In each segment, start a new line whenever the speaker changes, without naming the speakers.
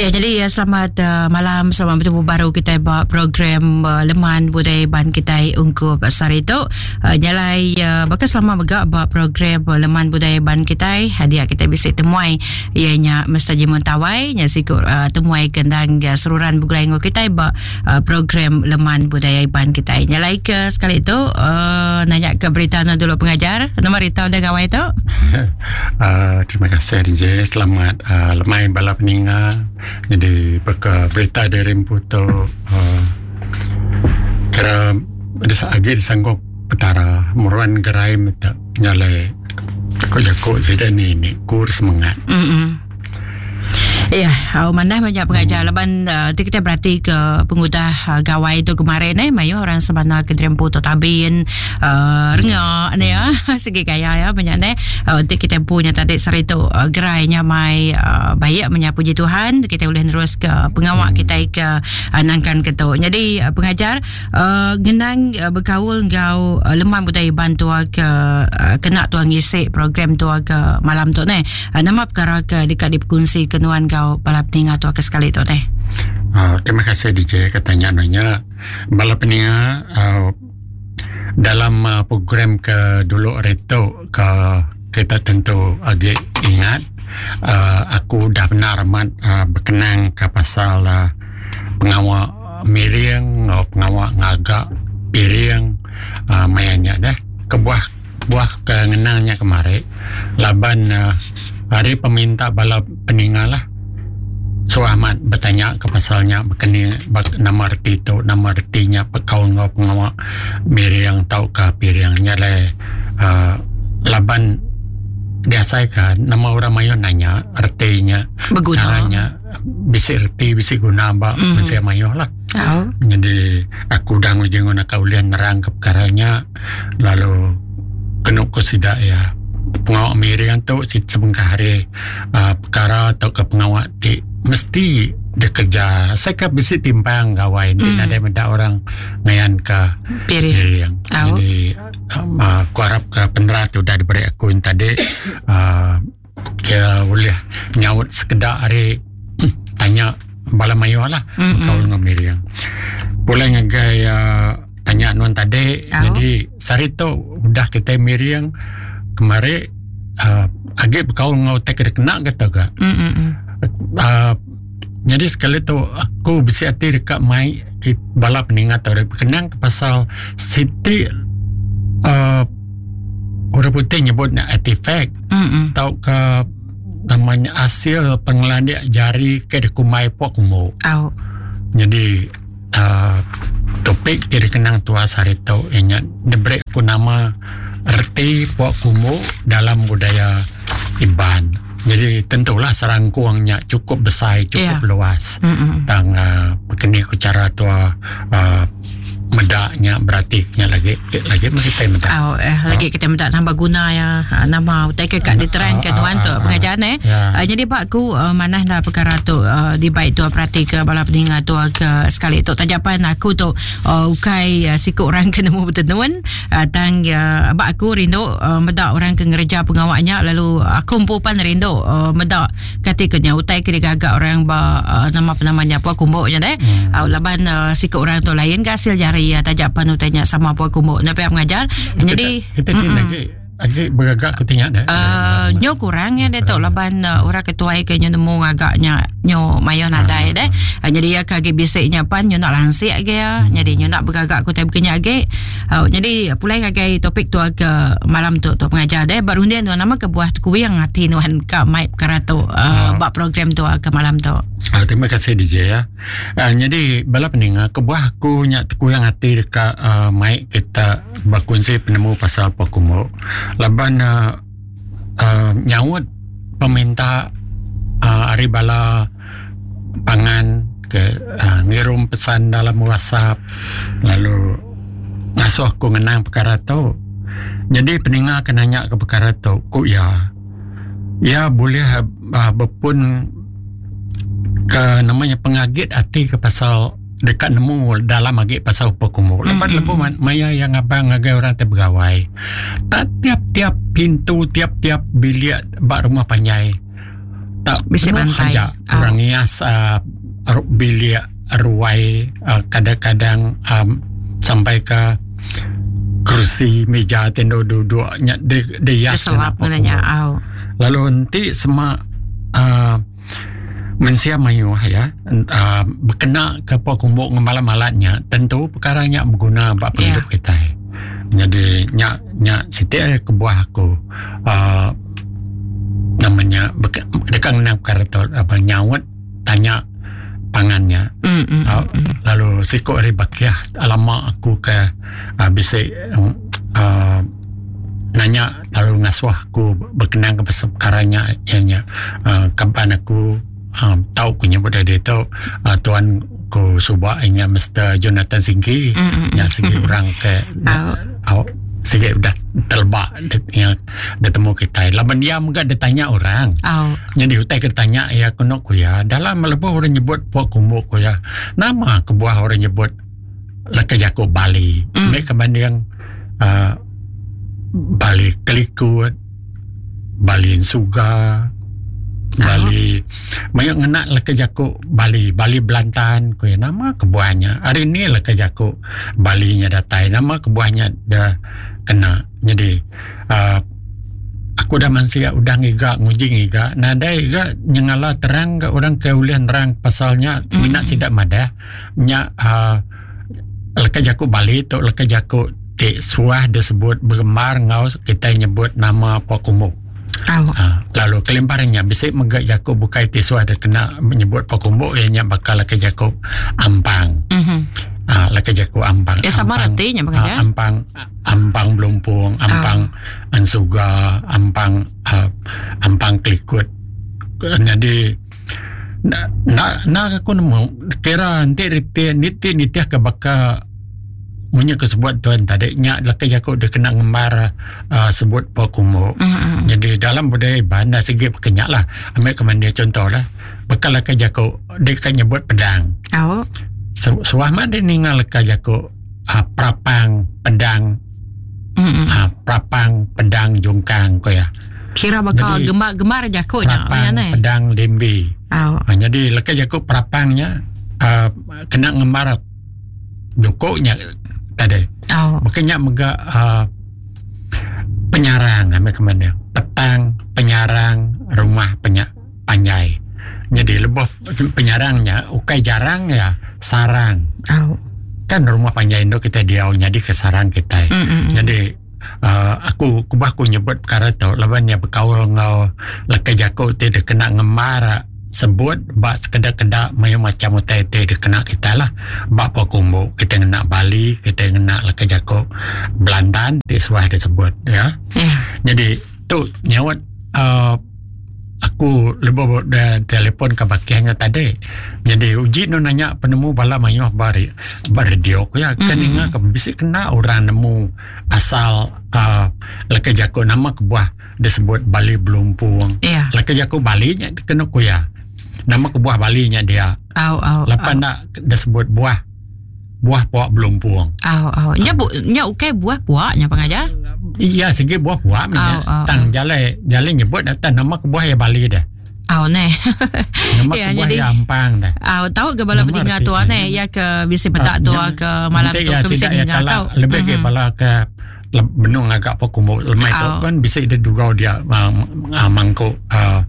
Ya, jadi ya, selamat malam, selamat bertemu baru kita ba program Leman Budaya Iban kita ungkup sehari tu. Nyalai bakal selama mega ba program Leman Budaya Iban kita, hadiah kita bisi temuai ianya Mr. Jimun Tawai, nya siku temuai kendang seruran begulai enggau kita ba program Leman Budaya Iban kita. Nyalai ke sekali tu nanya ke berita nu dulu pengajar. Nama berita udah gawai tu?
Uh, terima kasih DJ. Selamat uh, lemai bala peninga. Jadi baka berita dari empu tu uh, kira agi disanggup petara meruan gerai meta nyalai ko jaku sida ni ni kur semangat.
Mm -mm. Ya, yeah, manah banyak pengajar hmm. laban uh, kita berarti ke pengudah uh, gawai tu kemarin eh mayu orang sebana ke Drempu tu tabin uh, renga ni ya segi gaya ya banyak ni uh, untuk kita punya tadi sehari tu uh, gerai nyamai uh, baik menyapu puji Tuhan kita boleh terus ke pengawak hmm. kita ke uh, nangkan ke tu. Jadi uh, pengajar uh, ngenang uh, berkaul enggau uh, leman budaya Iban tua ke uh, kena tua ngisi program tua ke malam tu ni. Uh, nama perkara ke deka dipekunsi ke nuan enggau bala peninga tu ke sekali tu deh.
Uh, terima kasih DJ katanya nanya bala peninga uh, dalam uh, program ke dulu reto ke kita tentu agi ingat uh, aku dah benar amat uh, berkenang ke pasal uh, pengawa miring enggau pengawa ngaga piring uh, maya nya deh kebuah Buah ke ngenang nya kemari laban ari peminta bala peninga lah suah amat betanya ke pasal nya baka ni nama reti tu nama reti nya bekaul enggau pengawa miring tauka piring nya alai uhh laban diasai ka nama orang mayuh nanya reti nya
Beguna.
Cara nya bisi reti bisi guna ba mensia mayuh lah. Nyadi aku udah nguji nguna ka ulih nerang ka pekara nya. Lalu kenu ku sida iya pengawa miring tu sebengkah ari uhh pekara tauka pengawa ti mesti dikereja asai ka bisi timpang gawai enti nadai meda orang ngayan ka piring. Jadi uhh aku arap ka penerang ti udah diberi aku tadi uhh kira ulih nyaut sekeda ari tanya bala mayuh lah bekaul enggau miring. Pulai ngagai uhh tanya nuan tadi jadi sehari tu udah kitai miring kemari uhh agi bekaul enggau utai ke dikena ke tu ga. uhh nyadi sekali tu aku bisi ati deka mai bala peninga tu kenang pasal siti uhh orang putih nyebut nya artifact tauka nama nya asil pengelandik jari ke dikumbai pok kumbu. Nyadi uhh topik ti dikenang tuas hari tu iya nya diberi ku nama reti pok kumbu dalam budaya Iban. Jadi tentulah serangkung nya chukup besai chukup luas tang uhh keni ku chara tua uhh meda nya berati nya lagi lagi meh kitai meda.
Au eh lagi kitai meda namba guna iya nama utai ke ka diterang ke nuan tu pengajar neh. Nyadi ba aku manah enda perkara tu dibai tua perati ke bala peninga tua ke sekali tu taja pan aku tu ukai siku orang ke nemu betenun tang ba aku rindu meda orang ke ngereja pengawa nya lalu aku empu pan rindu meda Kati ke nya utai ke digaga orang ba uh, nama penama nya pua kumbu nya deh. Hmm. Uh, laban uh, siku orang tu lain ke hasil jari ya taja pan utai nya sama pua kumbu. Nya pihak mengajar.
Kita,
Jadi
kita mm lagi agi bergagak ke tinggal deh.
Uh, nyo kurang ya deh tu laban uh, orang ketuai ke nyo nemu ngagak nya nyo mayo nadai deh. Uh, jadi ya ke agi bisik nya pan nyo nak lansik agi ya. Jadi nyo nak bergagak ku tai bekenya agi. Uh, jadi pulai ngagai topik tu ke malam tu tu pengajar deh ba runding tu nama kebuah tekuing ati nuan ka mai perkara tu uh, uh. ba program tu ke malam tu.
Uh, terima kasih DJ ya. Uh, jadi bala peninga kebuah aku nya tekuing ati deka uh, mai kita berkongsi penemu pasal Pokumo laban uh, uh, nyaut peminta uh, ari bala pangan ke uh, ngirum pesan dalam WhatsApp lalu ngasuh aku ngenang perkara tu. Jadi peninga ke nanya ke perkara tu ku iya. Iya bulih uh, bepun ke namanya pengagit ati ke pasal deka nemu dalam agi pasal upa kumbu. Lepas mm-hmm. lebuh maya yang ngabang ngagai orang ti begawai. Tak tiap-tiap pintu, tiap-tiap bilik ba rumah panjai. Tak
Bisi
penuh
bantai.
aja
Au.
orang ngias uh, bilik ruai uh, kadang-kadang um, sampai ke kerusi meja ti endur duduk nya di dihias ngena
Diselap ngena nya
pokok.
au.
Lalu enti sema uh, mensia mayuh ya uh, bekena ke pok kumbuk ngemalat-malat nya tentu perkara nya beguna ba pengidup
Ya.
kitai. Jadi nya nya siti ari kebuah aku uh, nama nya deka ngena perkara tu apa nyaut tanya pangan nya.
Mm, mm,
Uh, lalu siku ari bakih lama aku ke uh, bisi uh, nanya lalu ngasuh aku berkenang ke pasal perkara nya iya nya uh, kaban aku uh, tau ku nyebut dia tu uh, tuan ku suba iya nya Mr Jonathan Singgi nya sigi orang ke
Au.
au sigi udah teleba nya ditemu kitai laban iya mega ditanya orang.
Au.
Nyadi utai ke ditanya iya kenu ku iya dalam lebuh orang nyebut pok kumbu ku iya nama kebuah orang nyebut leka jaku Bali
Mm.
meh ke banding uhh Bali Kelikut, Bali Ensuga, Bali mayuh ngena leka jaku Bali, Bali Belantan ku iya nama kebuah nya hari ni leka jaku Bali nya datai nama kebuah nya da kena nyadi uhh aku udah mansik udah ngiga nguji ngiga nadai ga nyengala terang ga orang ke ulih nerang pasal nya semina sida madah nya uhh leka jaku Bali tu leka jaku ti suah disebut berembar enggau kitai nyebut nama Pua Kumbu.
Au.
Ha, lalu kelimpah ari nya bisi mega jaku bukai ti suah dikena nyebut Pua Kumbu iya nya baka leka jaku ampang.
Mhm.
Ha, leka jaku ampang.
Ya sama
Ampang,
reti nya
ha,
baka ya.
ampang ampang belumpung, ampang ensuga, ampang uh, ampang kelikut. Nyadi enda enda enda aku nemu kira enti reti niti nitih ke baka munyi ke sebut tuan tadi nya leka jaku dikena ngembar uhh sebut pok kumbu.
Mm-mm.
Jadi dalam budaya Iban dah sigi baka nya lah ambi ke mandi contoh lah baka leka jaku deka nyebut pedang.
Au.
Su suah mah deh ninga leka jaku uhh perapang pedang
Mm-mm.
uhh perapang pedang jungkang ku iya.
Kira baka
Jadi,
gemar-gemar jaku nya
Perapang
nya neh.
pedang limbi.
Au.
Ha, jadi leka jaku perapang nya uhh kena ngembar duku nya tadi.
Au.
Baka nya mega uhh penyarang ambi ke mende petang penyarang rumah penya panjai. Jadi lebuh penyarang nya ukai jarang iya sarang.
Au.
Kan rumah panjai endo kitai diau nyadi ke sarang kitai.
Mm-mm.
Jadi uhh aku kubah ku nyebut perkara tu laban iya bekaul enggau leka jaku ti dikena ngembar sebut ba sekeda keda mayuh macam utai ti dikena kitai lah. Ba pok kumbu kitai ngena bali kitai ngena leka jaku belandan ti suah disebut ya.
Yeah.
Jadi tu nyaut uhh aku lebuh da telefon ka bakih nya tadi jadi uji ne nanya penemu bala mayuh ba ba radio ku iya kan
Mm-mm.
ninga ka bisi kena orang nemu asal uhh leka jaku nama kebuah disebut Bali Belumpung.
Yeah.
Leka jaku Bali nya kenu ku iya nama kebuah Bali nya dia
Au au.
lapan
au.
enda disebut buah buah puak belumpung.
Au au. Nya bu nya ukai buah puak nya pengajar.
Iya sigi buah puak meh nya.
Au au.
Tang jalai jalai nyebut dah tang nama kebuah iya Bali deh.
Au neh.
Nama
Ya,
kebuah
jadi
iya Ampang deh.
Au tau ke bala
Nama
peninga
reti
tua
iya.
neh iya ke bisi peda
Ah,
tua
nya
ke malam
enti
tu
iya
ke bisi
sida iya
ninga
kala
tau.
lebih ke
Mhm.
bala ke benung ngaga pok kumbu lemai tu
Au.
kan bisi deh dugau dia uh, mangkuk uh,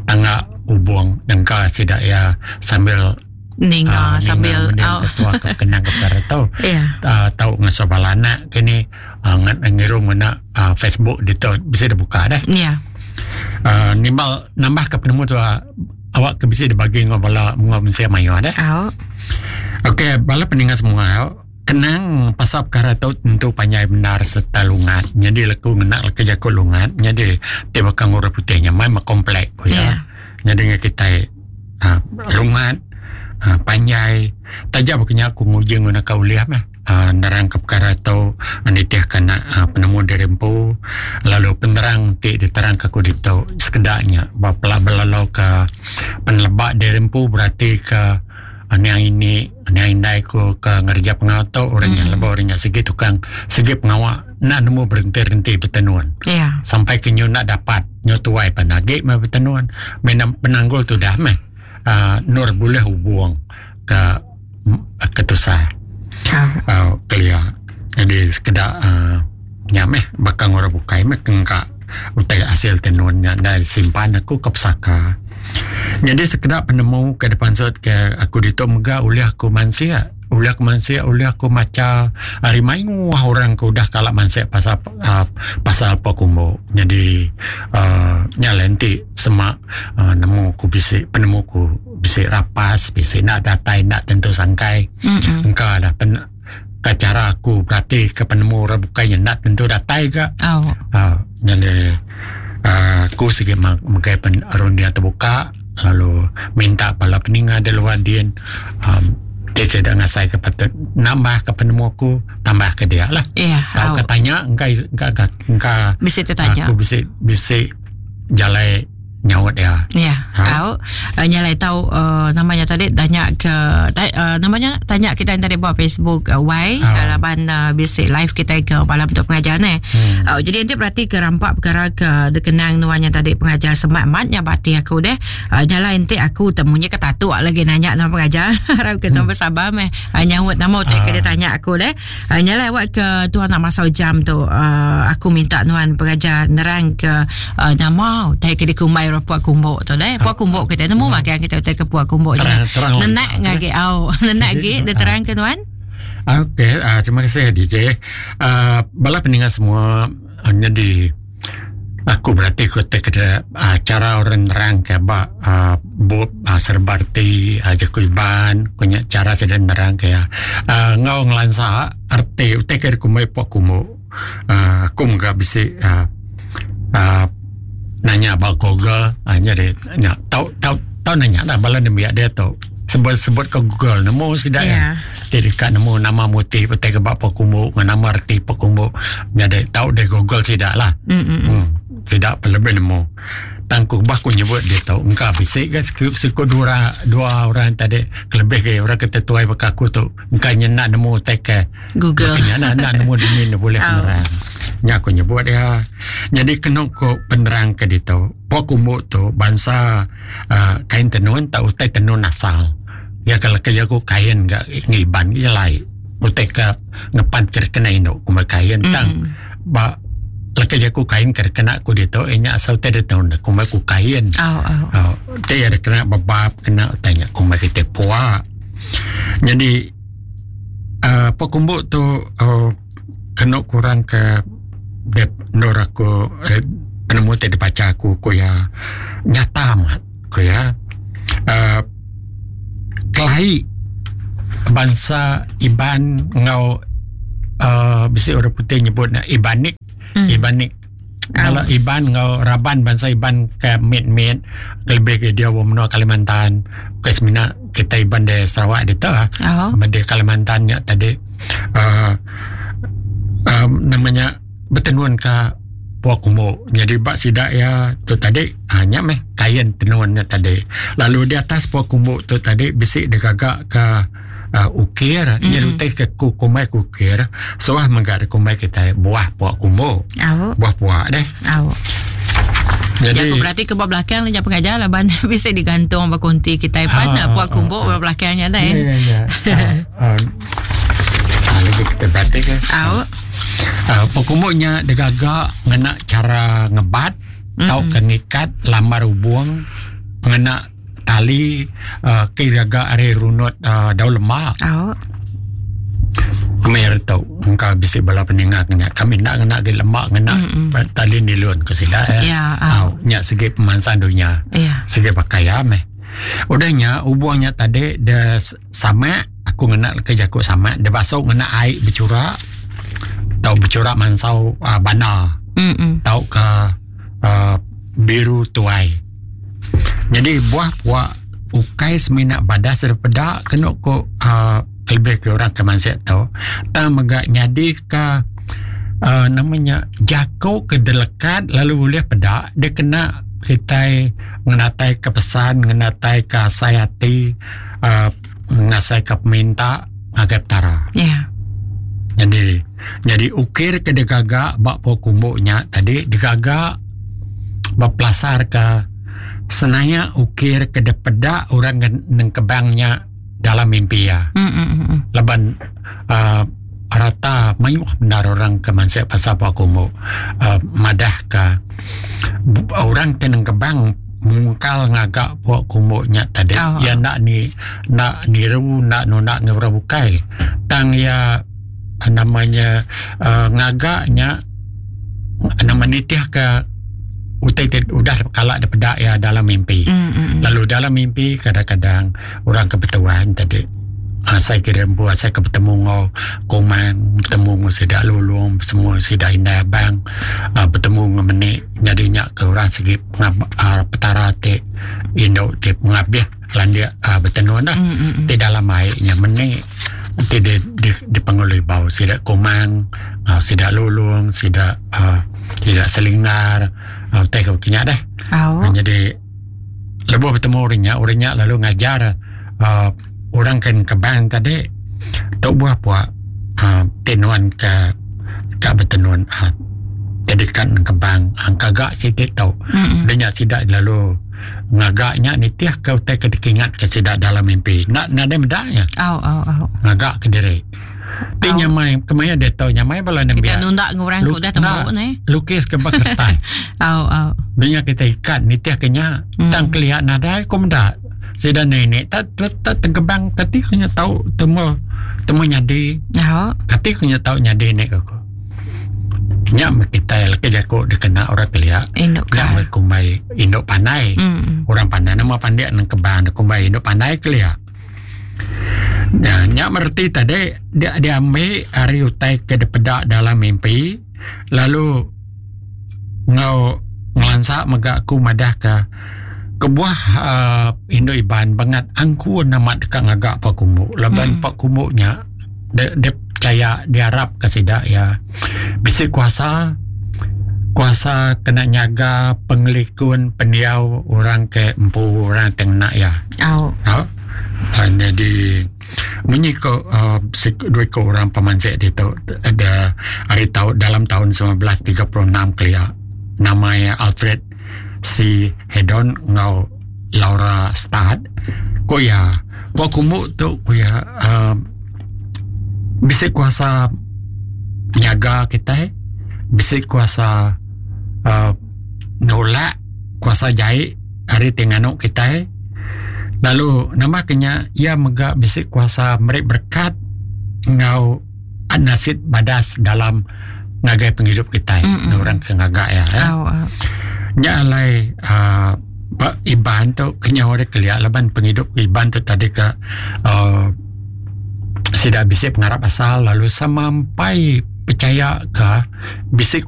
tangga ubung dengka sida iya sambil
Ninga
uh,
sambil
ninga
au.
mending ketua ke kenang ke perkara tu
Ya.
tau ngasuh bala anak kini uh, ngirum ngena uh, Facebook ditu bisi dibuka deh.
Ya.
Nimbal nambah ke penemu tu uh, awak ke bisi dibagi enggau bala enggau mensia mayuh deh.
Au.
Okey, bala peninga semua kenang pasal perkara tu tentu panjai bendar sereta lungat. Nyadi leku ngena leka jaku lungat nyadi ti baka ngurus putih nya mai meh komplek ku iya.
Ya.
Nyadi ngan kitai uhh lungat uhh panjai taja baka nya aku nguji nguna ka ulih meh uhh nerang ka perkara tu nitih ka anak uhh penemu diri empu lalu penerang ti diterang ka aku ditu sekeda nya ba pela belalau ka peneleba diri empu berati ka. Niang ini niang indai ku ke ngereja pengawa tu orang nya lebuh orang nya sigi tukang sigi pengawa enda nemu berhenti-henti betenun.
Yeah.
Sampai ke nyu enda dapat nyu tuai pan agi meh betenun. Meh penanggul tudah meh uh, nur bulih hubung ke ke tusah. Uh, kelia. Jadi sekeda uh, nya meh baka orang bukai meh kengka utai hasil tenun nya enda simpan aku ke pesaka. Nyadi sekeda penemu ke dipansut ke aku ditu mega ulih aku mansik, ulih aku mansik, ulih aku macha ari mayuh orang ke udah kala mansik pasal uhh pasal pua kumbu. Nyadi uhh nya alai enti sema uhh nemu ku bisi penemu ku bisi rapas bisi enda datai enda tentu sangkai engka dah pen ka chara aku berati ke penemu orang bukai nya enda tentu datai ga. Uhh nyadi uhh aku sigi megai runding tebuka lalu minta bala peninga da luar din uhh ti sida ngasai ke patut nambah ke penemu aku tambah ke dia lah. Tauka tanya engka engka engka
bisi tetanya
aku bisi bisi jalai nyaut iya.
Ya. Au. Uh, nya lai tau uh, namanya tadi tanya ke ta, uh, namanya tanya kita yang tadi buat Facebook uh, Y uh. laban uh, bisi live kita ke malam untuk pengajar ni. Hmm. Uh, jadi nanti berarti ke rampak perkara ke dikenang nuan yang tadi pengajar semat mat nya bati aku deh. Uh, nya lai nanti aku temunya ke tatuk lagi nanya nama pengajar. Harap kita hmm. bersabar meh uh, nyaut nama utai ke dia tanya aku deh. Uh, nya alai awak ke tuan nak masau jam tu uh, aku minta nuan pengajar nerang ke uh, nama utai ke dikumbai orang puak kumbuk tu deh. Puak kumbuk kita nemu magang kita utai ke puak kumbuk je. Nenak ngagi au. Nenak gi dia terang ke nuan.
Okey, uh, terima kasih DJ. Uh, bala peninga semua uh, jadi Aku berati ku ti keda uhh chara orang nerang ke ba uhh bup uhh serba reti uhh jaku Iban ku nya chara sida nerang ke iya uhh enggau ngelansa reti utai ke dikumbai pok kumbu uhh aku mega bisi uhh uhh nanya ba google uhh nyadi nya tau tau tau nanya lah bala nembiak diatu sebut sebut ke google nemu sida iya. Ti deka nemu nama muti utai ke ba pekumbu enggau nama reti pekumbu nyadi tau deh google sida lah. Mm-mm. Sida pun lebih nemu. Tang ku bah ku nyebut ditu engka bisi ga siku, siku dua orang, dua orang tadi kelebih ke orang ke tuai baka aku tu engka nya enda nemu utai ke
Google.
Baka nya enda, enda nemu dini ne bulih penerang. Nya aku nyebut iya. Nyadi kenu ku penerang ke ditu, pekumbu tu bansa uhh kain tenun tau utai tenun asal. Iya ke leka jaku kain ga ngiban ke jelai utai ke ngepan ke kena indu kumbai kain tang ba leka jaku kain ke kena ku ditu iya nya asal utai ditu ne kumbai ku kain. Au ti iya kena bebab kena utai nya kumbai kite pua. Nyadi uhh pekumbu tu uhh kenu kurang ke endur aku penemu ti dibacha aku ku iya nyata amat. Ku iya, uhh kelai bansa Iban enggau uhh bisi orang putih nyebut ne Ibanik, mm. Ibanik. Kalau Iban enggau raban bansa Iban ke mit-mit lebih ke dia wong menua Kalimantan. Bukan semina kita Iban di Sarawak ditu ah. Oh. Di Kalimantan nya tadi uhh um, namanya betenun ka pua kumbu. Nyadi ba sida iya tu tadi uhh nya meh kain tenun nya tadi. Lalu di atas pua kumbu tu tadi bisi digaga ka uhh ukir mm-hmm. nya utai ke ku kumbai ku ukir suah mega dikumbai kitai buah pua kumbu.
Au.
Buah pua deh.
Au. Jadi aku berarti ke ba belakang nya pengajar laban bisi digantung ba konti kitai pan ah, pua kumbu ba belakang nya deh.
Ya ya. Ah, ah, lagi kita berarti ke.
Au.
Uh, Pekumbu nya digaga ngena chara ngebat mm-hmm. tauka ngikat lambar ubung ngena tali uh, ke digaga ari runut uh, daun lemak.
Oh.
Kemir tu engka bisi bala peninga kena kami enda ngena agi lemak ngena mm-hmm. tali nilon ke sida
ya. Yeah,
uh. nya segi pemansang dunya.
Yeah.
Segi pakai ya meh. Udah nya ubung nya tadi de sama Aku ngena leka jaku sama deh basu ngena ai bechura tau bechura mansau uh, banda
mm
tauka uh, biru tuai. Jadi buah pua ukai semina badas daripada kenu ku uh, lebih ke orang ke mansik tu tang mega nyadi ka uh, namanya jaku ke delekat lalu ulih peda dia kena kitai ngenatai ke pesan ngenatai ke asai ati uh,. ngasai ke peminta ngagai Petara.
Ya.
Jadi jadi ukir ke digaga ba pua kumbu nya tadi digaga bepelasarka senaya ukir ke dipeda orang ke nengkebang nya dalam mimpi iya.
Mm, mm, mm.
Laban uh, rata mayuh bendar orang ke mansik pasal pua kumbu uh, madahka orang ke nengkebang mungkal ngaga pua kumbu nya tadi
Oh.
iya enda ni enda niru enda nunda enggau orang bukai tang iya nama nya uh, ngaga nya nama nitihka utai ti udah kala dipeda iya dalam mimpi.
Mm, mm, mm.
Lalu dalam mimpi kadang-kadang orang ke betuan tadi asai ke empu asai ke betemu enggau kumang betemu enggau sida lulong semua sida indai abang uh, betemu enggau menik nyadi nya ke orang sigi pengab, uh, petara ti indu ti pengabih landik uh, betenun lah
Mm, mm, mm.
ti dalam ai nya menik ti di di, di pengulu ibau sida kumang uh, sida lulong sida uh, sida selinggar uh, utai ke nya deh.
Au.
Jadi lebuh betemu orang nya, orang nya lalu ngajar uh, orang ke kebang tadi tu buah puak uh, tinuan ke ka betenun uh, jadi kan kebang angka gak siti tau.
Mm, mm.
Dia nya sida lalu ngaga nya nitih ke utai ke dikingat ke sida dalam mimpi. Nak nadai meda nya
Au, au, au.
ngaga ke diri. Ti
Au.
nyamai kemaya dia tau nyamai bala
Kita
nembiak.
nunda ngurang
Lu-
ku dah temu
nak.
ni.
Lukis ke ba kertas.
Au, au.
Dia kita ikat nitih ke nya.
Mm.
Tang kelihat nadai ku meda. Sida nenek tak tak, tak tengkebang kati ku nya tau temu temu nyadi.
Au.
Kati ku nya tau nyadi nek aku. Nya meh kita laki jaku dikena orang kelia.
Induk
Nya
ka.
meh kumbai induk pandai.
Mm, mm.
Orang pandai nama pandai nang kebang kumbai induk pandai kelia. Nya, nya mereti tadi dia diambil ari utai ke dipeda dalam mimpi lalu ngau ngelansa mega aku madah ke kebuah uh, Indo Iban bangat angkun amat deka ngaga pua kumbu laban
Mm.
pua kumbu nya dia, dia percaya diharap ke sida ya bisi kuasa kuasa kena nyaga pengelikun pendiau orang ke empu orang tengnak ya.
Au.
Ha? Ha, jadi munyi ko uh, dua ko orang pemansik ditu ada hari tahun dalam tahun 1936 kelia nama ya Alfred C. Hedon ngau Laura Stad ko ya ko kumbu tu ko ya uh, bisa kuasa nyaga kita bisa kuasa uh, nolak kuasa jahit hari tengano kita lalu nama kenya ia mega bisi kuasa merik berkat ngau nasid badas dalam ngagai penghidup kita
Mm-mm.
orang ke ngaga ya, ya.
Au, au.
Nya alai uh, ba Iban tu kenya orang kelia laban penghidup Iban tu tadi ke uh, sida bisi pengarap asal lalu sampai percaya ke bisi